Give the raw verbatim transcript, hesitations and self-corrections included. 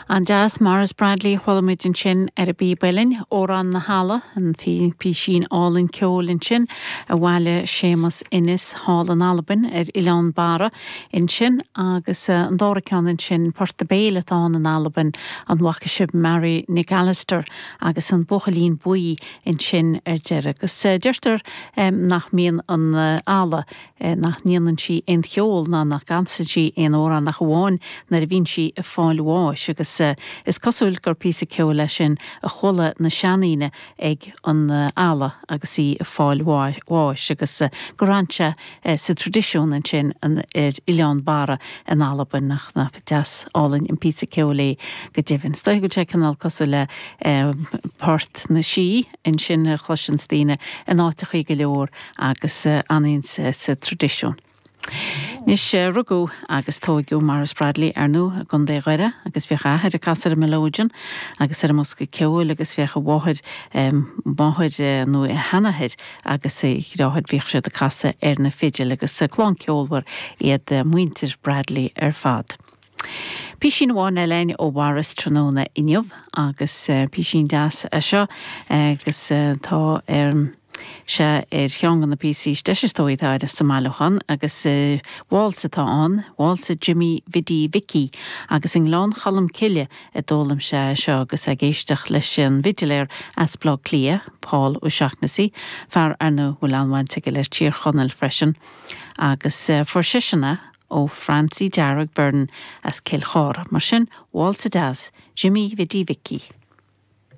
An-deas Maurice Bradley chuala muid ansin ar an bpíb uilleann, Amhrán na hEala, an písín álainn ceoil ansin a bhailigh Séamus Ennis thall in Albain ar Oileán Barra ansin agus an dara ceann ansin port béil atá in Albain an bhfaca sibh Mary Nic Allister agus an Buachaillín Buí ansin ar deireadh agus deirtear nach mbíonn an eala nach ndéanann sí aon cheol ná nach gcanann sí aon amhrán ach amháin nuair a bhíonn sí ag fáil bháis agus is cosúil gur píosa ceoil é sin a chuala na seandaoine ag an eala agus í ag fáil bháis agus gur fhan sé sa traidisiún ansin an ar Oileán Barra in Albain nach nach deas álainn an píosa ceoil é go deimhin. Is dóigh go sé cineál cosúil le port na sí ansin a chloiseann daoine in áiteachaí go leor agus ansin sa traidisiún. Anois rugadh agus tógadh Maurice Bradley ar ndóigh i gContae Dhoire agus bhíodh a athair ag casadh ar an melodeon agus ar an mbosca ceoil agus bhíodh a mháthair máthair nó a sheanathair agus a dheartháir bhíodh siad ag casadh ar na fidil agus clann ceolmhar iad muintir Bradley ar fad. Písín amháin eile ó Mhaurice tráthnóna inniu agus písín deas é seo agus tá ar sé ar cheann de na píosaí is deise is dóigh atá sa mbailiúchán agus válsa atá ann, válsa Jimmy Bhiddy Mhicí agus i nGleann Cholm Cille a d'fhoghlaim sé seo agus ag éisteacht leis an bhfidiléir as Baile Átha Cliath, Paul O'Shaughnessy, fear ar ndóigh bhfuil an-bhaint aige le Tír Chonaill freisin, agus fuair seisean é ó Francie Dearg Byrne as Cill Chártha, mar sin válsa deas Jimmy Bhiddy Mhicí.